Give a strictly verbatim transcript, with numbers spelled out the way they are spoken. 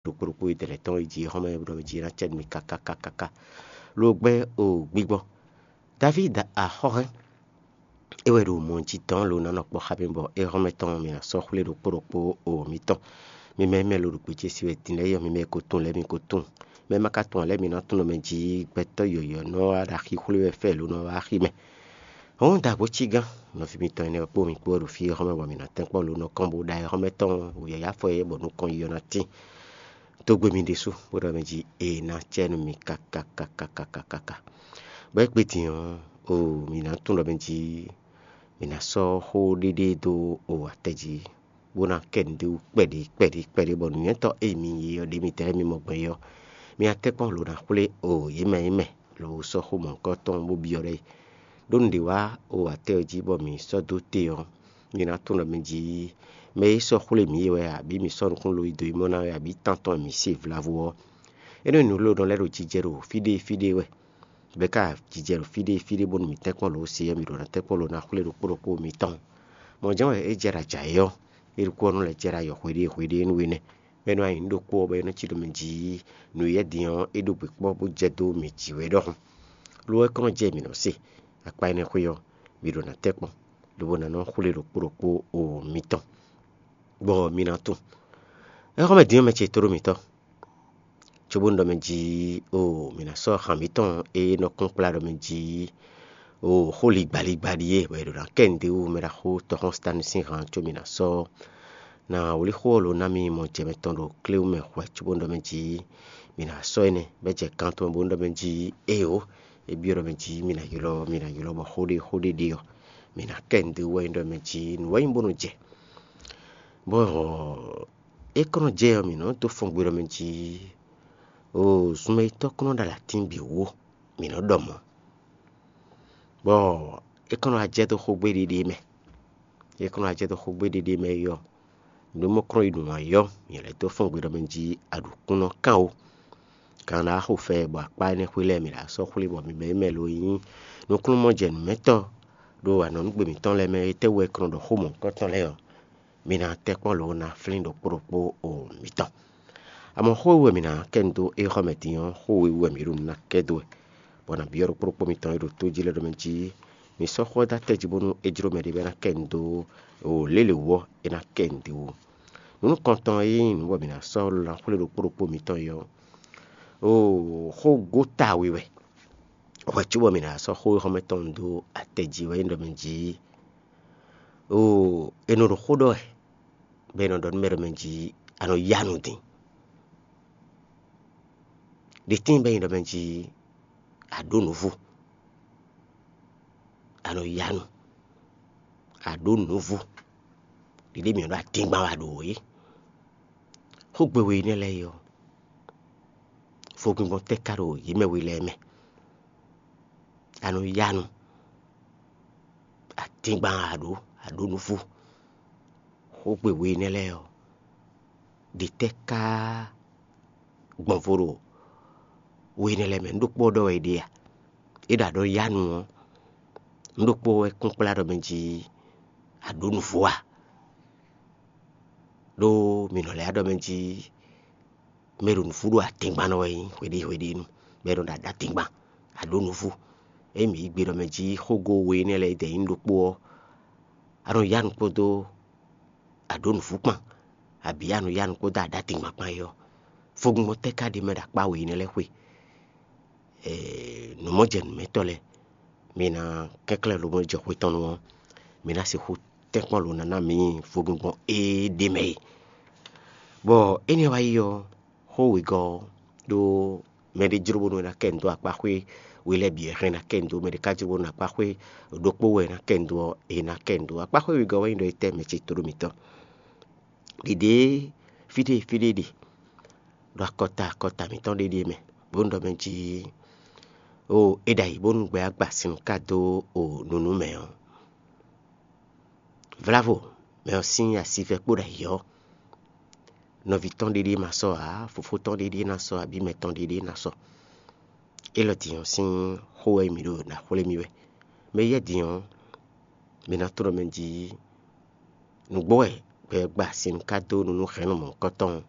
ɖokpó ɖokpó e dɛ̌nɛ́ tɔn e jí xɔ́mɛ ɖɔ jí ná cɛ nú mi káká káká. Lo gbɛ́ o gbigbɔ. Davídi axɔ́hɛn é wɛ ɖo mɔ jí dɔn lo ná nɔ kpɔ́ xá mi bɔ é xɔ́mɛ tɔn mi ná sɔ́ xwlé ɖokpó ɖokpó o mitɔn. Mi mɛ mɛ lo ɖo gbějé sí wɛ din lɛ́ɛ yɔ mi mɛ ko tunwun lɛ́ɛ mi ko tunwun. Mɛ ma ka tunwun lɛ́ɛ mi ná tunwun mɛ jí gbɛtɔ́ yɔ̌yɔ́ nɔ wá ɖo axi xwlé wɛ fɛ lo nɔ wá axi mɛ. Hɔn dagbo cí gán, nɔví mitɔn énɛ́ kpó mi kpó wɛ ɖo fí e xɔ́mɛ bɔ mǐ ná tɛ́nkpɔ́n lo nɔ kɔn bó ɖa e xɔ́mɛ tɔn wǔyáyá fɔ é bɔ nukɔn yíyɔ ná tín. Dó gbe mi ɖésú bó ɖɔ mɛ jí e ná cɛ nú mi káká káká káká káká. Bɔ é kpé din ɔ́, o mǐ ná tunwun ɖɔ mɛ jí mǐ ná sɔ́ xó ɖéɖé dó o atɛ jí, bó ná kɛ nǔɖé wú kpɛɖé kpɛɖé kpɛɖé bɔ nǔnywɛ́tɔ́ e mi yi ɔ́ ɖě mi tɛ́ mi mɔ gbɔn é ɔ́, mi ná tɛ́nkpɔ́n lo ná xwlé o yě mɛ yě mɛ lo sɔ́ xó mɔ̌hunkɔtɔn bó byɔ́ ɖɔ é. Ɖó nǔɖé wá o atɛ ɔ́ jí bɔ mǐ sɔ́ dó te ɔ́, mi ná tunwun ɖɔ mɛ jí mɛ e sɔ́ xwlé mǐ é wɛ abǐ mǐ sɔ́ nukúnlóyí dó yi mɔ ná wɛ abǐ tán tɔn e mǐ se vlavo ɔ́. Énɛ́ nǔ ló nɔ lɛ́ ɖo jijɛ ɖo fí ɖé fí ɖé wɛ, bɔ é ka jijɛ ɖo fí ɖé fí ɖé bónú mǐ tɛ́nkpɔ́n lǒ se ɔ́, mǐ ɖǒ ná tɛ́nkpɔ́n lǒ ná xwlé ɖokpó ɖokpó mitɔn. Mɔ̌ jɛ́n wɛ é jɛ ɖo ajǎ é ɔ́, é ɖokpó ɔ́ nɔ lɛ́ jɛ ɖo ayɔ hweɖée hweɖée nú we nɛ́. Bɔ é nɔ nyi nǔ ɖokpó ɔ́ bɔ é nɔ cí ɖo mɛ jí nǔ yɛ́ din ɔ́, é ɖo gbě kpɔ́ bó jɛ dó mǐ jí wɛ ɖɔhun. Lo ɔ́, é kɔn nɔ jɛ mǐ nɔ se akpa énɛ́ xwé ɔ́, mǐ ɖǒ ná tɛ́nkpɔ́n, lobo ná nɔ xwlé ɖokpó ɖokpó o mitɔn, bɔ mi ná tunwun. Éhɔ́mɛ din ɔ́, mɛ ce tóɖó mǐtɔn, cóbónú ɖɔ mɛ jí o mǐ ná sɔ́ han mǐtɔn e nɔ kún kplá ɖɔ mɛ jí o xó ligbaligba ɖíe, bɔ è ɖǒ ná kɛ nǔɖé wú mɛ ɖaxó tɔxɔ́n Sitánu sín han có mǐ ná sɔ́ ná wlí xó ɔ́ lo ná mì mɔ jɛ mɛtɔn ɖo kléwú mɛ hwɛ cóbónú ɖɔ mɛ jí mǐ ná sɔ́ énɛ́, bɔ é jɛ kan tɔn bónú ɖɔ mɛ jí éeǒ, é byɔ́ ɖɔ mɛ jí mǐ ná ylɔ́ mǐ ná ylɔ́ bɔ xó ɖé xó ɖé ɖe ɔ́, mǐ ná kɛ nǔɖé wú wɛ nyí ɖɔ mɛ jí nǔ wɛ nyí bónú jɛ. Bɔ é kɔn nɔ jɛ ɔ́, mǐ nɔ dó fɔn gbe ɖɔ mɛ jí o zunmɛyítɔ́ kɔn nɔ ɖo alǎtín bǐ wú, mǐ nɔ ɖɔ mɔ̌. Bɔ é kɔn nɔ wá jɛ dó xógbé ɖiɖi mɛ. É kɔn nɔ wá jɛ dó xógbé ɖiɖi mɛ é ɔ́, nǔ mɔ kɔn yi nǔ wá yɔ, mǐ lɛ́ dó fɔn gbe ɖɔ mɛ jí aɖǔkúnɔ kán o. Kan ɖo axo fɛ bɔ akpá énɛ́ xwé lɛ́ɛ mǐ ɖo sɔ́ xwlé bɔ mǐ mɛ mɛ lo nyí nukúnnú-mɔjɛnǔmɛtɔ́ ɖo anɔ̌nugbe mǐtɔn lɛ́ɛ mɛ, étɛ́ wú wɛ kɔn nɔ ɖɔ xó mɔ̌hunkɔtɔn lɛ́ɛ ɔ́, mi ná tɛ́nkpɔ́n lǒ ná flín ɖokpó ɖokpó o mǐtɔn. Amɔ̌ xó e wú wɛ mǐ ná kɛ nu dó éhɔ́mɛ din ɔ́, xó we wú wɛ mǐ ɖo nǔ ná kɛ dó wɛ, bɔ nǎ byɔ́ ɖokpó ɖokpó mitɔn e ɖo tó jí lɛ́ɛ ɖɔ mɛ jí mi sɔ́ xó ɔ́ dó atɛ jí bónú é jló mɛɖé bɔ é ná kɛ nu dó o lě lě wú ɔ́, é ná kɛ nu dó wú. Nǔ nukɔntɔn e nyí nǔ bɔ mǐ ná sɔ́ ló ná xwlé ɖokpó ɖokpó mitɔn é ɔ́, o xógóta we wɛ. Hwɛ cóbɔ mǐ ná sɔ́ xó éhɔ́mɛ tɔn nu dó atɛ jí wɛ nyí ɖɔ mɛ jí o è nɔ ɖo xó ɖɔ wɛ, bɔ è nɔ ɖɔ nú mɛ ɖɔ mɛ jí a nɔ yá nu din. Ɖě tíin bɔ é nyí ɖɔ mɛ jí a ɖǒ nǔvú, a nɔ yá nu, a ɖǒ nǔvú, ɖiɖe mǐ ɖo adingban wɛ a ɖǒ é. Xógbe we énɛ́ lɛ́ɛ é ɔ́, fogbingbɔn tɛ́ ka ɖo yě mɛ we lɛ́ɛ mɛ? A nɔ yá nu, adingban a ɖǒ, a ɖǒ nǔvú. Xógbe we énɛ́ lɛ́ɛ ɔ́, ɖě tɛ́ ká gbɔn vo ɖo we énɛ́ lɛ́ɛ mɛ? Nǔ ɖokpó ɔ́ ɖɔ wɛ è ɖe a? É ɖo aɖɔ yá nu ɔ́, nǔ ɖokpó wɛ kún kplá ɖɔ mɛ jí a ɖǒ nǔvú a? Ɖó mǐ nɔ lɛ́ ɖɔ mɛ jí mɛ e ɖo nǔvú ɖo atɛngban nɔ wɛ nyí hweɖée hweɖée nu, bɔ é nɔ ɖo aɖatɛngban, a ɖǒ nǔvú. Ényí mǐ yí gbe ɖɔ mɛ jí xógó we énɛ́ lɛ́ɛ dɛ̌ nyí ɖokpó ɔ́, a nɔ yá nu kpódó a ɖǒ nǔvú kpán, abǐ a nɔ yá nu kpódó aɖatɛngban kpán é ɔ́, fogbingbɔn tɛ́ ka ɖ'é mɛ ɖo akpá we énɛ́ lɛ́ɛ xwe? Nǔmɔjɛnǔmɛtɔ́ lɛ́ɛ, mi ná kɛnklɛ́n lobo jɛ xwe tɔn nu ɔ́, mi ná sixú tɛ́nkpɔ́n lo ná ná mǐ fogbingbɔn e ɖ'é mɛ é. Bɔ énɛ́ wá yi ɔ́, xó wegɔ́ ɔ́ ɖó mɛɖé jló bónú é ná kɛ nu dó akpáxwé we lɛ́ɛ bǐ wɛ hɛn ná kɛ nu dó, mɛɖé ka jló bónú akpáxwé ɖokpó wɛ é ná kɛ nu dó ɔ́, è nǎ kɛ nu dó. Akpáxwé wegɔ́ wɛ nyí ɖɔ é tɛ́ mɛ ce tóɖó mǐtɔn. Ɖiɖě fí ɖé fí ɖé ɖe ɖo akɔta akɔta mǐtɔn ɖé ɖíe mɛ, bónú ɖɔ mɛ jí o é ɖo ayǐ bónú gbɛ agba sin ka dó o nǔnú mɛ ɔ́. Vlavo, mɛ ɔ́ sín asivɛ kpó ɖo ayǐ ɔ́, nɔví tɔn ɖéɖé ma sɔ́ ǎ, fofó tɔn ɖéɖé ná sɔ́, abǐ mɛ tɔn ɖéɖé ná sɔ́. Élɔ́ din ɔ́ sín xó wɛ mǐ ɖo ná xwlé mì wɛ. Mɛ yɛ́ din ɔ́, mǐ ná tlɔ́ mɛ jí nǔgbó wɛ gbɛ gba sin ka dó nǔnú hɛ̌nnu mɔ̌hunkɔtɔn